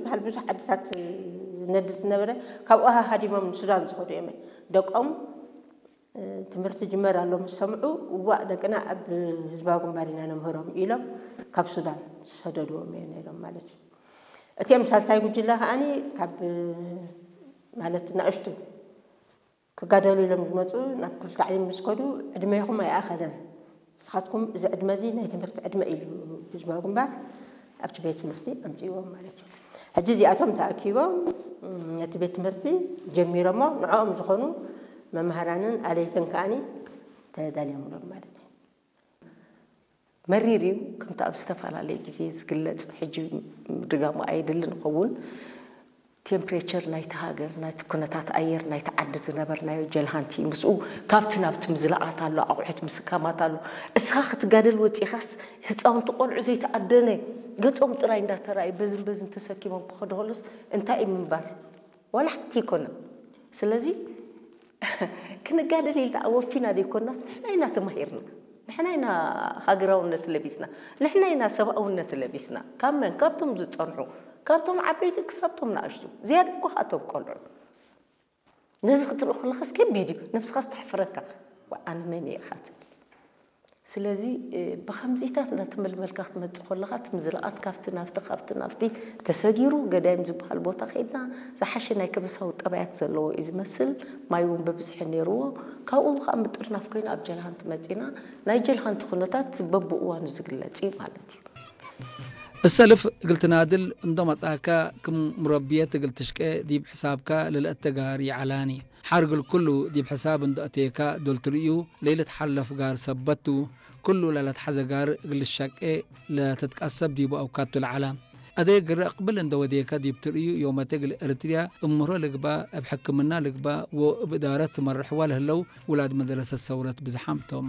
ዝበሃል ብዙሕ ዓድታት ዝነድድ ዝነበረ፣ ካብኡ ሃሃዲሞም ንሱዳን ዝኸዱ እዮም። ደቆም ትምህርቲ ጅመር ኣሎ ምስ ሰምዑ፣ እዋእ ደቅና ኣብ ህዝባዊ ግንባር ኢና ነምህሮም ኢሎም ካብ ሱዳን ዝሰደድዎም እዮም ነይሮም ማለት እዩ። እቲኦም ሳልሳይ ጉጅለ ከዓኒ ካብ ማለት ንኣሽቱ ክጋደሉ ኢሎም ዝመፁ ናብ ክፍሊ ታዕሊም ምስ ከዱ ዕድሜኹም ኣይኣኸለን፣ ንስኻትኩም እዚ ዕድመ እዚ ናይ ትምህርቲ ዕድመ ኢሉ ህዝባዊ ግንባር ኣብቲ ቤት ትምህርቲ ኣምፅእዎም ማለት እዩ። ሕጂ እዚኣቶም ተኣኪቦም ነቲ ቤት ትምህርቲ ጀሚሮሞ፣ ንዕኦም ዝኾኑ መምሃራንን ኣለይትን ከዓኒ ተዳልዮምሎም ማለት እዩ። መሪር እዩ። ከምቲ ኣብ ዝተፈላለየ ግዜ ዝግለጽ፣ ሕጂ ምድጋሙ ኣየድልን ይኸውን። ቴምፕሬቸር ናይቲ ሃገር፣ ናይቲ ኩነታት ኣየር ናይቲ ዓዲ ዝነበርናዮ ጀልሃንቲ ምስኡ ካብቲ ናብቲ ምዝላቓት ኣሎ፣ ኣቑሑት ምስካማት ኣሎ። እስኻ ክትጋደል ወጺኻስ ህፃውንቲ ቆልዑ ዘይተኣደነ ገጾም ጥራይ እንዳተራእዩ በዝን በዝን ተሰኪሞም ክኸዱ ከሎስ እንታይ እዩ ምንባር? ዋላ ሓንቲ ኣይኮነን። ስለዚ ክንጋደል ኢልና ኣወፊና ዘይኮናስ ንሕና ኢና ተማሂርና፣ ንሕና ኢና ሃገራውነት ለቢስና፣ ንሕና ኢና ሰብኣውነት ለቢስና። ካብ መን? ካብቶም ዝጸንሑ፣ ካብቶም ዓበይቲ ክሳብቶም ንኣሽቱ፣ ዝያዳ እኮ ካብቶም ቆልዑ። ነዚ ክትርኢ ከለኻስ ከቢድ እዩ፣ ነብስኻስ ተሕፍረካ። ዋ፣ ኣነ መን እየ ኢኻ ትብል። ስለዚ ብከምዚታት እናተመልመልካ ክትመፅእ ከለኻ እቲ ምዝላቓት ካብቲ ናብቲ ካብቲ ናብቲ ተሰጊሩ ገዳይም ዝበሃል ቦታ ከይድና ዝሓሸ ናይ ከበሳዊ ጠባያት ዘለዎ እዩ ዝመስል። ማይ እውን በብዝሒ ነይርዎ። ካብኡ ከዓ ምጥርናፍ ኮይኑ ኣብ ጀልሃንቲ መፂና። ናይ ጀልሃንቲ ኩነታት በብእዋኑ ዝግለፅ እዩ ማለት እዩ። እሰልፍ እግል ትናድል እንዶ መጻካ ክም ሙረብየት እግል ትሽቄ ዲብ ሕሳብካ ለለአተጋሪ ይዓላኒ። ሓር እግል ኩሉ ዲብ ሕሳብ እንዶ አቴካ ዶል ትርእዩ ለይልትሓለፍ ጋር ሰበት ቱ። ኩሉ ለለትሓዘ ጋር እግል ልሸቄ ለትትቀሰብ ዲቡ አውካቱ ለዓላ። አደይ ግረ እቅብል እንዶ ወዴካ ዲብ ትርእዩ ዮመቴ እግል እርትርያ እምህሮ ልግባእ እብ ሕክምና ልግባእ ወእብ እዳረት ትመርሕዋ ለህለው ውላድ መደረሰት ሰውረት ብዝሓም ቶም።